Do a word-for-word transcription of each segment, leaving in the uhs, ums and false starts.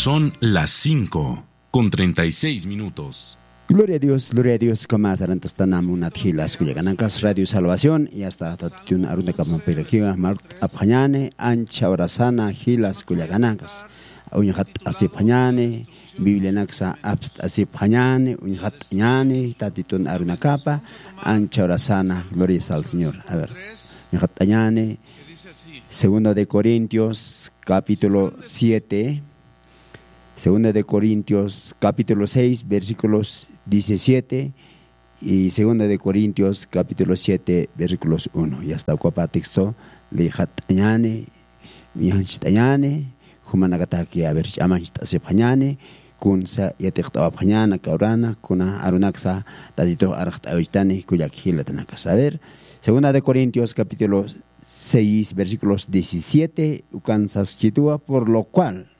Son las cinco con treinta y seis minutos. Gloria a Dios, gloria a Dios, kama sarantastan amunat jilas kullakanakas Radio Salvación, y hasta tatitun arunakaman pirakiwa mart apxañani, ancha horasana jilas kullakanakas. Uñjat asipxañani, Biblianaksa apst asipxañani, uñjat ñani, tatitun arunakapa, ancha horasana, gloria al Señor. A ver, uñjat ñani, Segunda de Corintios, capítulo siete. Segunda de Corintios, capítulo seis, versículos diecisiete, y Segunda de Corintios, capítulo siete, versículos uno. Ya está, uka texto, lixat ñani, ñanchit ñani, jumanakataki, a ver, ch'amanchit asipxañani, kunsa yatiqt'awapxañana, kawrana, kuna arunaksa, tatitux arxt'awitani, kullak jilatanakas. A ver, Segunda de Corintios, capítulo seis, versículos diecisiete, ukan saskitwa, por lo cual,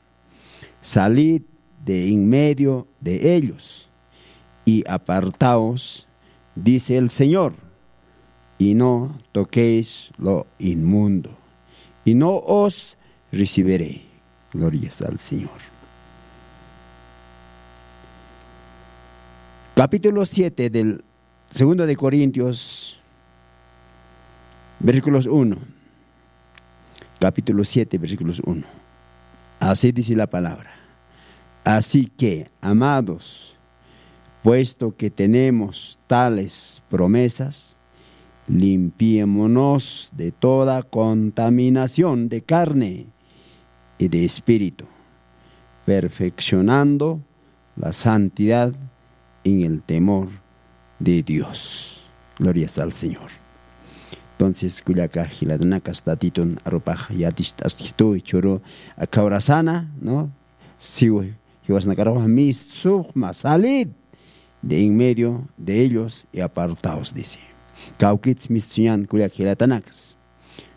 salid de en medio de ellos y apartaos, dice el Señor, y no toquéis lo inmundo, y no os recibiré. Glorias al Señor. Capítulo siete del Segundo de Corintios, versículos uno. Capítulo siete, versículos uno. Así dice la palabra. Así que, amados, puesto que tenemos tales promesas, limpiémonos de toda contaminación de carne y de espíritu, perfeccionando la santidad en el temor de Dios. Glorias al Señor. Entonces, kullaka jilatanakas, tatitun arupax yaticht'askitu, churu, aka horasana, ¿no? Siwi, jiwasnakaruxa, mistsuxma, salid de en medio de ellos y apartaos, dice. Kawkits mistsuñan, kullak jilatanakas.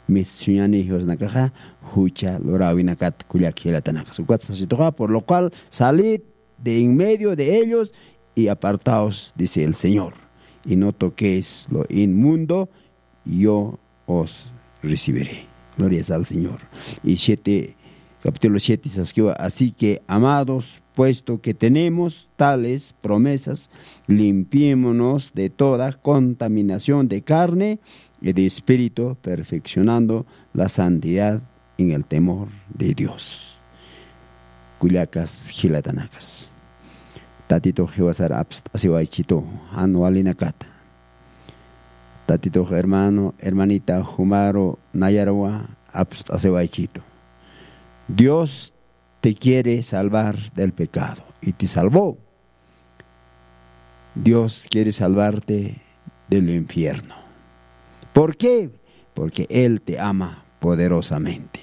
Mistsuñani jiwasnakaxa, jucha luräwinakat, kullak jilatanakas. Ukat sasituxa, por lo cual, salid de en medio de ellos y apartaos, dice el Señor, y no toquéis lo inmundo, yo os recibiré. Glorias al Señor. Y siete, capítulo siete, saskiwa, así que, amados, puesto que tenemos tales promesas, limpiémonos de toda contaminación de carne y de espíritu, perfeccionando la santidad en el temor de Dios. Kullakas jilatanakas. Tatitux jiwasar apst'asiwaychitu, jan walinakata. Tatitux hermano, hermanita, jumaru nayarwa apst'asiwaychitu. Dios te quiere salvar del pecado y te salvó. Dios quiere salvarte del infierno. ¿Por qué? Porque Él te ama poderosamente.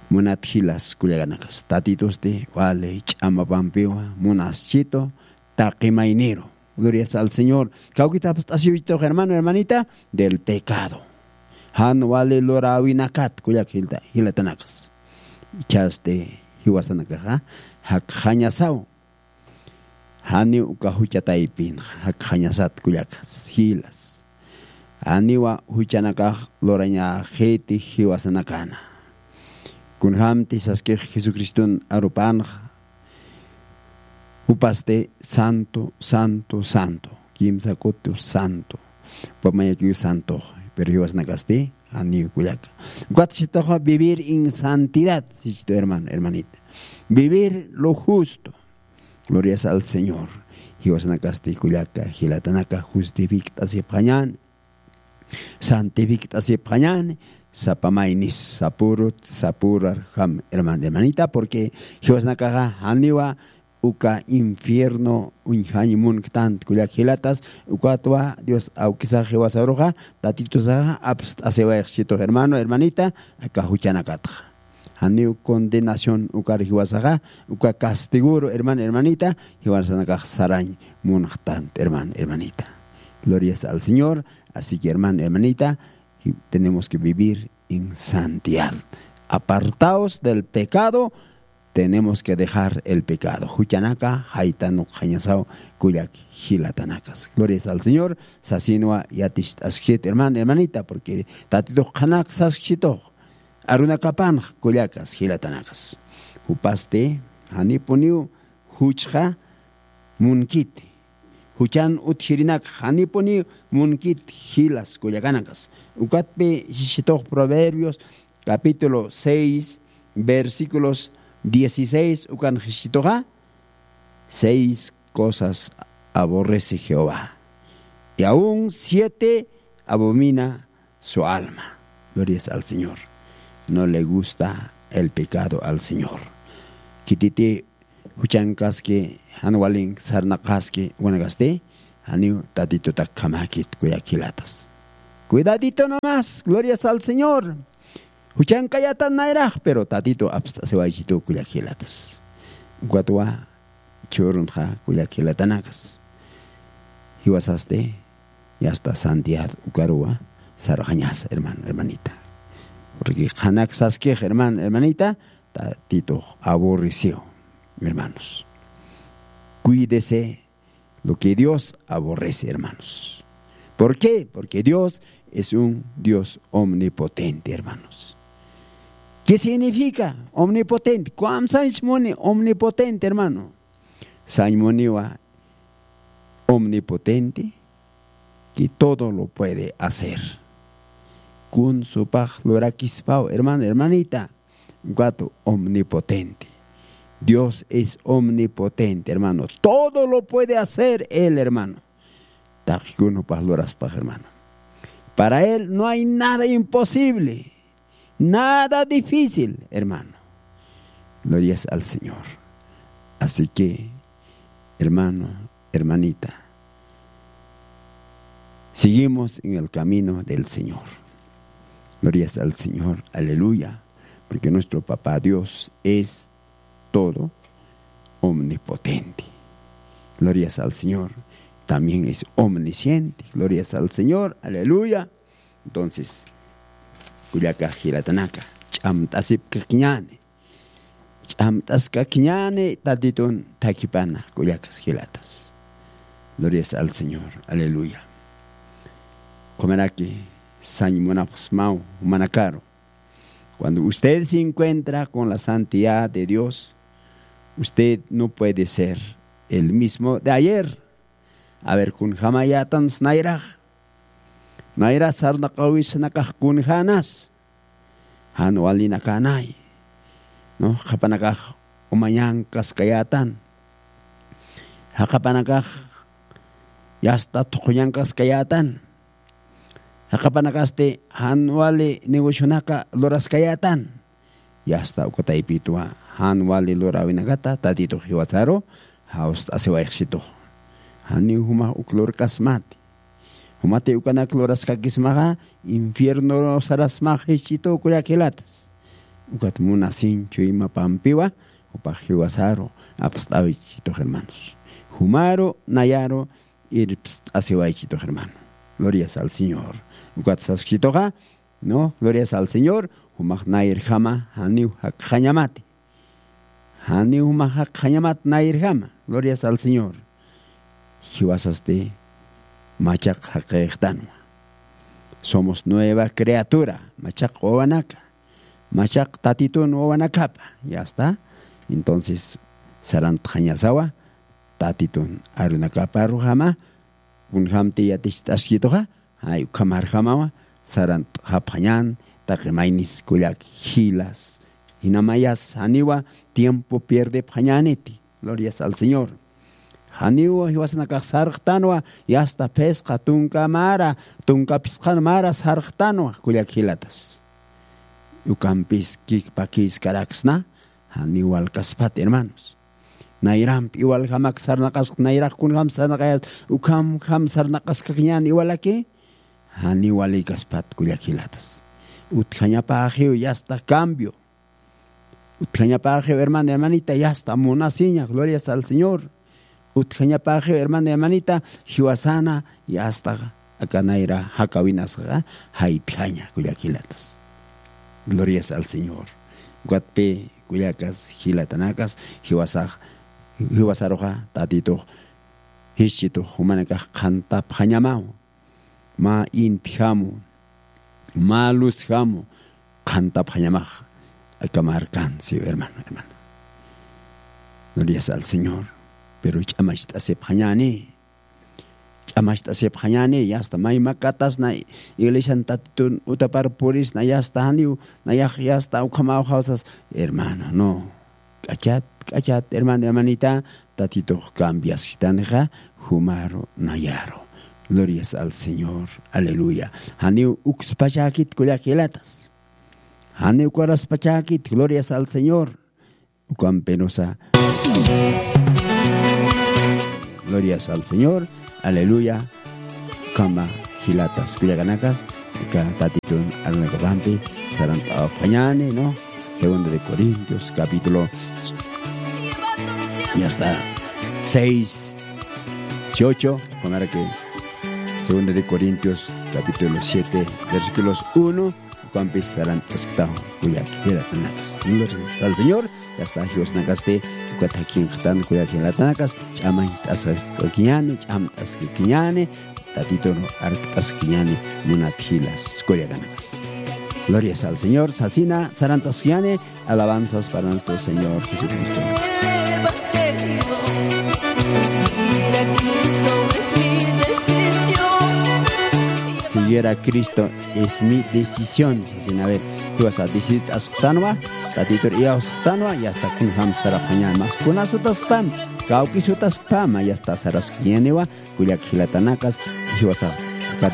Munat jilas kullakanakas, tatitusti wali ch'amapampiwa munaschitu, taqi mayniru. Glorias al Señor. Kawkit apst'asiwaychitux, hermano, hermanita, del pecado. Jan wali luräwinakat, kullak jilta-, jilatanakas. Ichhasti jiwasanakaxa jakxañasaw. Janiw uka jucha taypinxa jakxañasat, kullakas jilas. Janiwa juchanakax lurañaxiti jiwasanakana. Kunjamti saskix Jesucriston arupanxa, jupasti santo, santo, santo, kimsa kutu santo. Jupa mayakiw santox, pero jiwasnakasti janiw, kullaka. Ukat sasituxa vivir en santidad, sisitu, hermano, hermanita. Vivir lo justo. Glorias al Señor. Jiwasanakasti, kullaka, jilatanaka, justifikt'asipxañäni, santifikt'asipxañäni, sapa maynis sapürut, sapürarjam, hermano, hermanita, porque jiwasanakaxa janiwa uka infierno uñjañ munktanti, kullak jilatas, ukatwa Dios awkisax jiwasaruxa, tatitusaxa apst'asiwayxchitux, hermano, hermanita, aka juchanakatxa. Janiw condenación ukar jiwasaxa, uka castigoru, hermano, hermanita, jiwasanakax sarañ munxtanti, hermano, hermanita. Glorias al Señor. Así que, hermano, hermanita, y tenemos que vivir en santidad. Apartaos del pecado, tenemos que dejar el pecado. Juchanaka jaytan ukxañasaw, kullak jilatanakas. Glorias al Señor. Sasinwa yaticht'askit, hermano, hermanita, porque tatitux qhanak saskitux arunakapanx, kullakas jilatanakas. Jupasti janipuniw juchxa munkiti. Juchan utjirinak janipuniw munkit jilas kullakanakas. Ukatpi sisitux Proverbios capítulo seis, versículos dieciséis ukan sisituxa, seis cosas aborrece Jehová, y aún siete abomina su alma. Glorias al Señor. No le gusta el pecado al Señor. Kititi juchankaski, janwalin sarnaqaski wanagasti, janiw tatitutak kamakit kuyakilatas. Cuidadito nomás, glorias al Señor. Juchankayatan nayraq, pero tatitu apst'asiwaychitu kuyakilatas. Ukatwa churunxa kuyakilatanakas. Jiwasasti, yasta santidad ukaruwa sarxañasa, hermano, hermanita. Porque qhanak saskix, hermano, hermanita, tatitux aborrecido, hermanos. Cuídese lo que Dios aborrece, hermanos. ¿Por qué? Porque Dios es un Dios omnipotente, hermanos. ¿Qué significa omnipotente? ¿Cuán sañmuni omnipotente, hermano? Sañmuniwa omnipotente, que todo lo puede hacer. Kun supax lurakispaw, hermano, hermanita, Gatu omnipotente. Dios es omnipotente, hermano. Todo lo puede hacer Él, hermano. Taqi kun jupax luraspax, hermano. Para Él no hay nada imposible, nada difícil, hermano. Glorias al Señor. Así que, hermano, hermanita, seguimos en el camino del Señor. Glorias al Señor, aleluya, porque nuestro Papá Dios es todo omnipotente. Glorias al Señor, también es omnisciente. Glorias al Señor, aleluya. Entonces, kullaka jilatanaka, ch'amt'asipkakiñäni. Ch'amt'askakiñäni tatitun thakipana kullakas jilatas. Glorias al Señor, aleluya. Kumaraki sañ munapxsmaw jumanakaru. Cuando usted se encuentra con la santidad de Dios, usted no puede ser el mismo de ayer. A ver, kunjamayätans nayrax. Nayra sarnaqawisnakax kunjänas. Jan walinakanay. No, jaqapanakax umañankaskayätan. Jaqapanakax yasta thuqhuñankaskayätan. Jaqapanakasti jan wali negocionaka luraskayätan. Yasta uka taypitwa jan wali luräwinakata tatitux jiwasaru jawst'asiwayxsitux. Janiw jumax uk lurkasmati. Jumati ukanak luraskakismaxa infierno sarasmax jichhitu kullakilatas. Ukat munasiñ chuymapampiwa jupax jiwasaru apst'awichitux hermanos. Jumaru nayaru irpst'asiwaychitux hermano. Glorias al Señor. Ukat saskituxa, no, glorias al Señor. Jumax nayrjama janiw jakxañamati. Janiw jumax jakxañamat nayrjama. Glorias al Señor. Jiwasasti machaq jaqixtanwa. Somos nueva criatura, machaq wawanaka. Machaq tatitun wawanakapa, yasta. Entonces, sarantxañasawa tatitun arunakaparujama. Kunjamti yaticht'askituxa, jay ukhamarjamawa sarantxapxañän taqi maynis kullak jilas. Jinamayas janiwa tiempo pierdepxañäniti. Glorias al Señor. Janiwa jiwasanakax sarxtanwa, yasta phisqa tunka mara, tunka phisqan mara sarxtanwa kullak jilatas. Ukampis kikpakïskaraksna. Janiw walkaspat hermanos. Nayramp iwaljamak sarnaqask, nayrax kunjam sarnaqayas, ukhamjam sarnaqaskakiñän iwalaki. Janiw walïkaspat kullak jilatas. Utjañapäxiw yasta cambio. Utjañapäxiw hermana, hermanita, yasta munasiña. Glorias al Señor. Utjañapäxiw hermana, hermanita, jiwasana yasta aka nayra jakawinasxa jaytjaña kullak jilatas. Glorias al Señor. Ukatpi kullakas jilatanakas jiwasax, jiwasaruxa tatitux jischitux jumanakax qhantapxañamaw. Mä intjamu, mä luzjamu qhantapxañamax. Aka markan, sí, hermano, hermana. Glorias al Señor. Pero ch'amacht'asipxañäni. Ch'amacht'asipxañäni, yasta maymakatasna iglesian Tatitun utapar purisna, yasta janiw, nayax yasta ukhamaw jawsas. Hermano, no. K'achat, k'achat, hermano, hermanita, Tatitux cambiasktanxa, jumaru, nayaru. Glorias al Señor. Aleluya. Janiw ukspachäkit kullakilatas. Janiw ukaraspachäkit, glorias al Señor. Ukampirusa. Glorias al Señor. Aleluya. Ukhama jilatas kullakanakas, aka Tatitun arunakakampi sarant'awapxañäni, ¿no? Segunda de Corintios, capítulo, ya está, seis, dieciocho, con ahora que Segunda de Corintios, capítulo siete, versículos uno, ukampis sarant'asktaw, kullaki jilatanakas. Gloria al Señor. Yasta jiwasnakasti ukat jakinxtan, kullaki jilatanakas, ch'amañt'askakiñäni, ch'amt'askakiñäni, Tatitun arkt'askakiñäni, munat jilas kullakanakas. Glorias al Señor, sasina sarant'askakiñäni, alabanzas para nuestro Señor Jesucristo. Seguir a Cristo es mi decisión. Sasina, a ver, jiwasa decidt'asktanwa, Tatitur iyawsktanwa, yasta kunjam sarapxañäni, mas kuna sutaskpam, kawki sutaskpama, yasta saraskiñäniwa, kullak jilatanakas, jiwasa